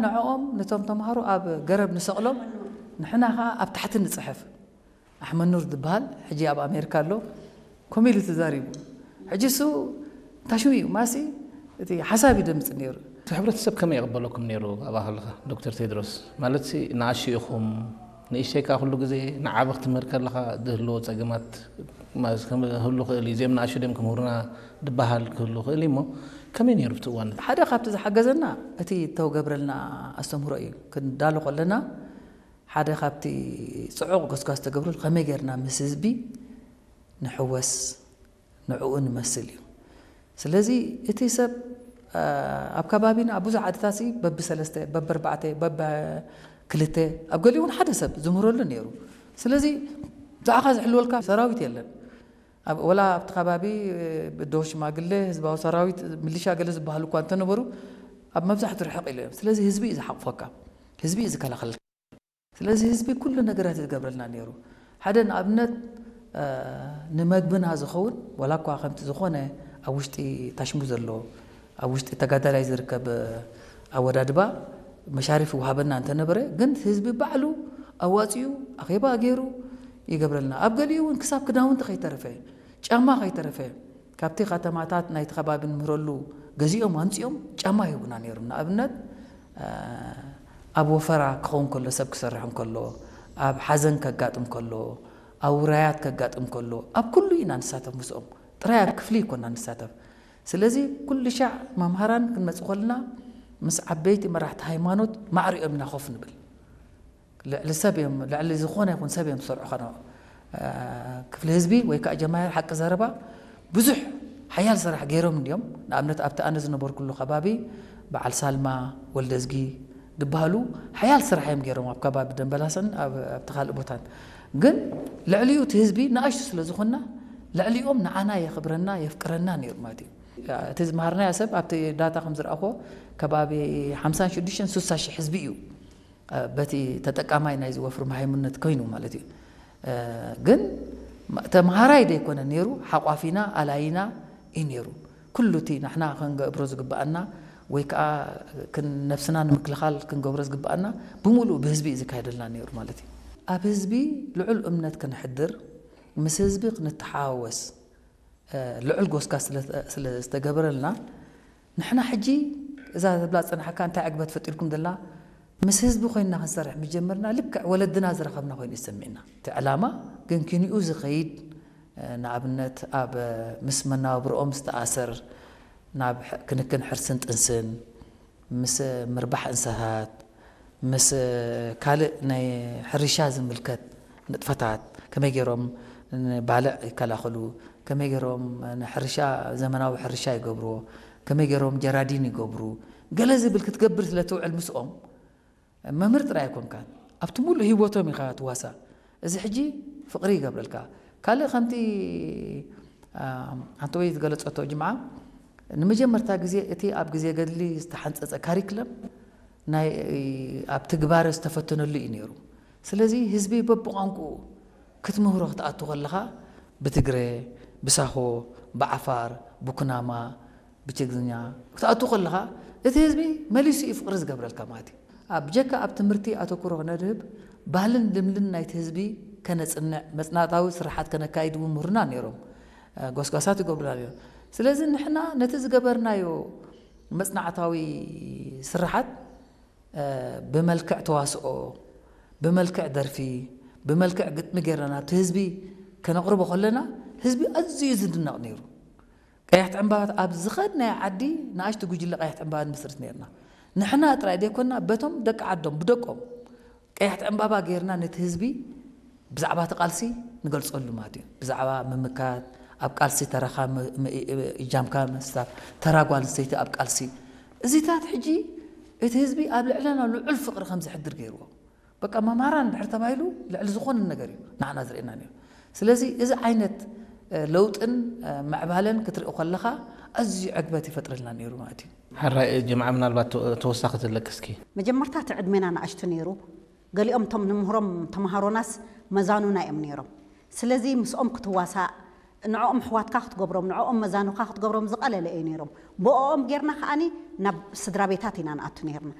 ንዕኦም፣ ነቶም ተምሃሮ ኣብ ገረብ ንሰቕሎም፣ ንሕና ኸዓ ኣብ ታሕቲ ንጽሕፍ። ኣሕመድ ኑር ዝበሃል ሕጂ ኣብ ኣሜሪካ ኣሎ፣ ከምኡ ኢሉ ተዛሪቡ። ሕጂ እሱ ታሽሙ እዩ ማሲ፣ እቲ ሓሳብ ይደምጽ ነይሩ። እቲ ሕብረተሰብ ከመይ ይቕበለኩም ነይሩ ኣብኣ ከለኻ ዶክተር ቴድሮስ? ማለትሲ ንኣሽቱ ኢኹም፣ ንእሽተይ ከኣ ኩሉ ግዜ ንዓቢ ክትምህር ከለኻ ዝህልዎ ጸገማት ማለት ከም ክህሉ ክእል እዩ። እዚኦም ንኣሽቱ ድዮም ክምህሩና ዝበሃል ክህሉ ክእል እዩ እሞ ከመይ ነይሩ ኣብቲ እዋን? ሓደ ካብቲ ዝሓገዘና እቲ እተገብረልና ኣስተምህሮ እዩ። ክንዳሎ ከለና ሓደ ካብቲ ጽዑቕ ጎስጓስ ተገብረሉ ከመይ ጌርና ምስ ህዝቢ ንሕወስ ንዕኡ ንመስል እዩ። ስለዚ እቲ ሰብ ኣብ ከባቢና ኣብ ብዙሕ ዓድታት በብሰለስተ በብኣርባዕተ በብክልተ ኣብ ገሊኡ እውን ሓደ ሰብ ዝምህረሉ ነይሩ። ስለዚ ብዛዕኻ ዝሕልወልካ ሰራዊት የለን። ወላ ኣብቲ ከባቢ ብዶ ሽማግለ ህዝባዊ ሰራዊት ምልሻ ገለ ዝበሃሉ እኳ እንተነበሩ ኣብ መብዛሕትኡ ርሕቕ ኢሉ እዮም። ስለዚ ህዝቢ እዩ ዝሓቕፈካ፣ ህዝቢ እዩ ዝከላኸልካ። ስለዚ ህዝቢ ኩሉ ነገራት ዝገብረልና ነይሩ። ሓደ ንኣብነት ንመግብና ዝኸውን ዋላ እኳ ከምቲ ዝኾነ ኣብ ውሽጢ ታሽሙ ዘሎ ኣብ ውሽጢ ተጋዳላይ ዝርከብ ኣወዳድባ መሻርፍ ይወሃበና እንተነበረ፣ ግን ህዝቢ ባዕሉ ኣዋፂኡ ኣኼባ ገይሩ ይገብረልና። ኣብ ገሊኡ እውን ክሳብ ክዳውንቲ ከይተረፈ፣ ጫማ ከይተረፈ ካብቲ ከተማታት ናይቲ ከባቢ ንምህረሉ ገዚኦም ኣምፂኦም ጫማ ይህቡና ነይሮም። ንኣብነት ኣብ ወፈራ ክኸውን ከሎ፣ ሰብ ክሰርሕ እንከሎ፣ ኣብ ሓዘን ከጋጥም ከሎ፣ ኣብ ውራያት ከጋጥም ከሎ፣ ኣብ ኩሉ ኢና ንሳተፍ ምስኦም። ጥራይ ኣብ ክፍሊ ይኮና ንሳተፍ። ስለዚ ኩሉ ሻዕ መምሃራን ክንመጽእ ከለና ምስ ዓበይቲ መራሕቲ ሃይማኖት ማዕሪኦም ኢና ኮፍ ንብል። ልዕሊ ሰብ እዮም፣ ልዕሊ ዝኾነ ይኹን ሰብ እዮም ዝሰርዑ። ከነ ክፍሊ ህዝቢ ወይ ከዓ ጀማሂር ሓቂ ዘረባ ብዙሕ ሓያል ስራሕ ገይሮም እንዲዮም። ንኣብነት ኣብቲ ኣነ ዝነበርኩሉ ከባቢ በዓል ሳልማ ወልደዝጊ ዝበሃሉ ሓያል ስራሕ እዮም ገይሮም ኣብ ከባቢ ደንበላሰን ኣብ ኣብቲ ካልእ ቦታን። ግን ልዕሊኡ እቲ ህዝቢ ንኣሽቱ ስለ ዝኾንና ልዕሊኦም ንዓና የኽብረና የፍቅረና ነይሩ ማለት እዩ። እቲ ዝመሃርናዮ ሰብ ኣብቲ ዳታ ከም ዝረኣኹዎ ከባቢ ሓምሳን ሽዱሽተን ስሳ ሽሕ ህዝቢ እዩ። በቲ ተጠቃማይ ናይዚ ወፍሪ መሃይምነት ኮይኑ ማለት እዩ። ግን ተምሃራይ ደይኮነ ነይሩ፣ ሓቋፊና ኣላይና እዩ ነይሩ። ኩሉ እቲ ንሕና ክንገብሮ ዝግብኣና ወይ ከዓ ክን ነብስና ንምክልኻል ክንገብሮ ዝግብኣና ብምሉኡ ብህዝቢ እዩ ዝካየደልና ነይሩ ማለት እዩ። ኣብ ህዝቢ ልዑል እምነት ክነሕድር፣ ምስ ህዝቢ ክንተሓዋወስ፣ ልዑል ጎስጋስ ስለ ዝተገበረልና ንሕና ሕጂ እዛ ዝብላ ዝጸናሕካ እንታይ ዕግበት ፈጢርኩም ዘላ ምስ ህዝቢ ኮይንና ክንሰርሕ ምስ ጀመርና ልክዕ ወለድና ዝረኸብና ኮይኑ እዩ ዝስምዕና። እቲ ዕላማ ግን ክንኡ ዝኸይድ ንኣብነት ኣብ ምስ መናብርኦም ዝተኣሰር ናብ ክንክን ሕርስን ጥንስን ምስ ምርባሕ እንስሳት ምስ ካልእ ናይ ሕርሻ ዝምልከት ንጥፈታት ከመይ ገይሮም ንባልዕ ይከላኸሉ፣ ከመይ ገይሮም ንሕርሻ ዘመናዊ ሕርሻ ይገብርዎ፣ ከመይ ገይሮም ጀራዲን ይገብሩ፣ ገለ ዝብል ክትገብር ስለ ትውዕል ምስኦም መምህር ጥራይ ኣይኮንካን፣ ኣብቲ ሙሉእ ህይወቶም ኢኻ ትዋሳእ። እዚ ሕጂ ፍቕሪ ይገብረልካ። ካልእ ከምቲ ኣንተ ወይ ዝገለጸቶ ጅምዓ ንመጀመርታ ግዜ እቲ ኣብ ግዜ ገድሊ ዝተሓንጸጸ ካሪክለም ናይ ኣብ ትግባረ ዝተፈተነሉ እዩ ነይሩ። ስለዚ ህዝቢ በብቋንቁኡ ክትምህሮ ክትኣቱ ከለኻ ብትግረ፣ ብሳሆ፣ ብዓፋር፣ ብኩናማ፣ ብትግርኛ ክትኣቱ ከለኻ እቲ ህዝቢ መሊሱ እዩ ፍቕሪ ዝገብረልካ ማለት እዩ። ኣብ ጀካ ኣብ ትምህርቲ ኣተኩሮ ክነድህብ ባህልን ልምድን ናይቲ ህዝቢ ከነጽንዕ መጽናዕታዊ ስርሓት ከነካይድ እውን ምሁርና ነይሮም። ጎስጓሳት ይገብሩና ነይሮም። ስለዚ ንሕና ነቲ ዝገበርናዮ መጽናዕታዊ ስርሓት ብመልክዕ ተዋስኦ፣ ብመልክዕ ደርፊ፣ ብመልክዕ ግጥሚ ጌርና ናብቲ ህዝቢ ከነቕርቦ ከለና ህዝቢ ኣዝዩ ዝድነቕ ነይሩ። ቀያሕቲ ዕምባባት ኣብ ዝኸድናዮ ዓዲ ንኣሽቱ ጉጅለ ቀያሕቲ ዕምባባ ንመስርት ነይርና። ንሕና ጥራይ ዘይኮንና በቶም ደቂ ዓዶም ብደቆም ቀያሕቲ ዕምባባ ጌርና ነቲ ህዝቢ ብዛዕባ እቲ ቃልሲ ንገልጸሉ ማለት እዩ። ብዛዕባ ምምካት፣ ኣብ ቃልሲ ተራኻ እጃምካ ምስታፍ፣ ተራ ጓል ኣንስተይቲ ኣብ ቃልሲ እዚታት ሕጂ እቲ ህዝቢ ኣብ ልዕለና ልዑል ፍቕሪ ከም ዘሕድር ገይርዎ። በቃ መምሃራን እንድሕር ተባሂሉ ልዕሊ ዝኾነ ነገር እዩ ንዓና ዝርእየና ነይሩ። ስለዚ እዚ ዓይነት ለውጥን ምዕባለን ክትርኢ ከለኻ ኣዝዩ ዕግበት ይፈጥረልና ነይሩ ማለት እዩ። ሕራይ ጅምዓ ምናልባት ተወሳኺ ትለቅስኪ? መጀመርታ እቲ ዕድሜና ንኣሽቱ ነይሩ። ገሊኦም እቶም ንምህሮም ተምሃሮናስ መዛኑና እዮም ነይሮም። ስለዚ ምስኦም ክትዋሳእ ንዕኦም ኣሕዋትካ ክትገብሮም ንዕኦም መዛኑኻ ክትገብሮም ዝቐለለ እዩ ነይሮም። ብኦም ጌርና ከኣኒ ናብ ስድራ ቤታት ኢና ንኣቱ ነይርና።